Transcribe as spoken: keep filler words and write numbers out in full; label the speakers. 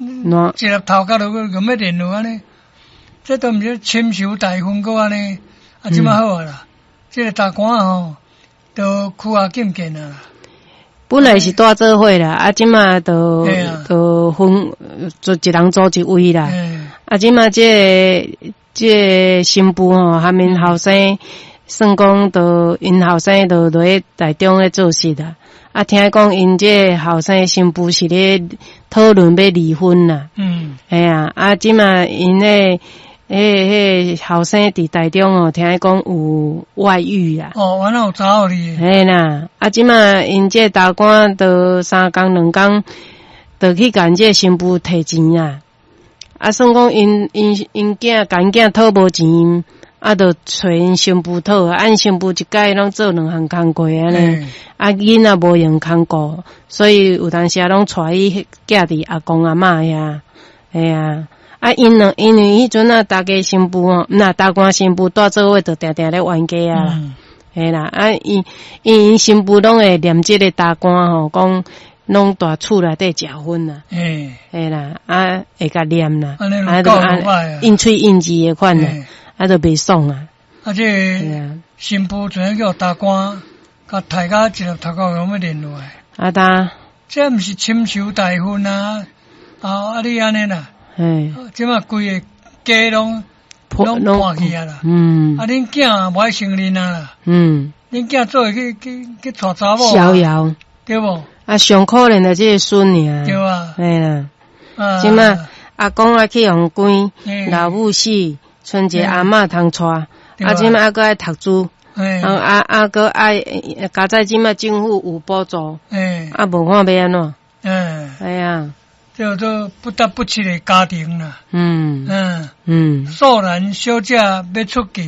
Speaker 1: 喏
Speaker 2: 一粒頭殼就共欲連落按呢，這都毋是深仇大恨閣按呢，啊，這馬好啊啦，這个大官吼，都屈啊見見啊啦。
Speaker 1: 本來是蹛做伙啦，啊，這馬就
Speaker 2: 嘿啊
Speaker 1: 就分就一人租一位啦。
Speaker 2: 嘿
Speaker 1: 啊，這馬這个這个新婦吼，含𪜶後生，算講就𪜶後生就落去台中咧做事啦。啊，聽講𪜶這个後生新婦是咧討論欲離婚啦。
Speaker 2: 嗯，
Speaker 1: 嘿啊，啊，這馬𪜶咧，彼彼後生佇台中哦，聽講有外遇啦。
Speaker 2: 哦，原來有查某哩。
Speaker 1: 嘿啦，啊，這馬𪜶這个大官就三工兩工，就去共這个新婦提錢啊。啊，算講𪜶𪜶𪜶囝共𪜶囝討無錢，啊，就揣𪜶新婦討，啊，𪜶新婦一擺攏做兩項工課按呢，
Speaker 2: 嘿
Speaker 1: 啊，囡仔無閒看顧，所以有當時攏帶伊寄佇阿公阿嬤遐，嘿啊，啊，𪜶兩因為彼陣啊，大家新婦吼，若大官新婦蹛做伙，就定定咧冤家啊啦。
Speaker 2: 嗯
Speaker 1: 嘿啦，啊，伊𪜶新婦攏會念這个大官吼，講攏蹛厝內底食薰啦，
Speaker 2: 嘿，
Speaker 1: 嘿啦，啊，會共念啦，
Speaker 2: 按呢
Speaker 1: 啊，
Speaker 2: 就夠歹啊
Speaker 1: 應喙應舌的款啦
Speaker 2: 嘿，
Speaker 1: 啊，就袂爽啊，
Speaker 2: 啊，這
Speaker 1: 嘿啊，
Speaker 2: 新婦怎叫大官，共刣甲一粒頭殼攏欲連落來，
Speaker 1: 啊，呾，
Speaker 2: 這毋是深仇大恨啊！啊啊，你按呢啦，
Speaker 1: 嘿，
Speaker 2: 這馬規个家攏攏破去啊啦！
Speaker 1: 嗯
Speaker 2: 啊，恁囝也無愛承認啊啦，
Speaker 1: 嗯，
Speaker 2: 恁囝做會去去去娶查某啊，
Speaker 1: 逍遙，
Speaker 2: 對無？
Speaker 1: 啊，上可憐的這个孫爾，
Speaker 2: 對啊，
Speaker 1: 嘿啦，
Speaker 2: 啊，
Speaker 1: 這馬阿公啊去予關，
Speaker 2: 嘿
Speaker 1: 老母死，賰一个阿嬤通帶，
Speaker 2: 對啊
Speaker 1: 啊，這馬還閣愛讀書。
Speaker 2: 嘿
Speaker 1: 啊啊啊！閣愛，佳哉這馬政府有補助，
Speaker 2: 嘿，
Speaker 1: 啊，無看欲按怎？
Speaker 2: 嗯，
Speaker 1: 哎呀，
Speaker 2: 叫做不得不娶的家庭啦，
Speaker 1: 嗯
Speaker 2: 嗯，
Speaker 1: 嗯
Speaker 2: 素蘭小姐欲出嫁，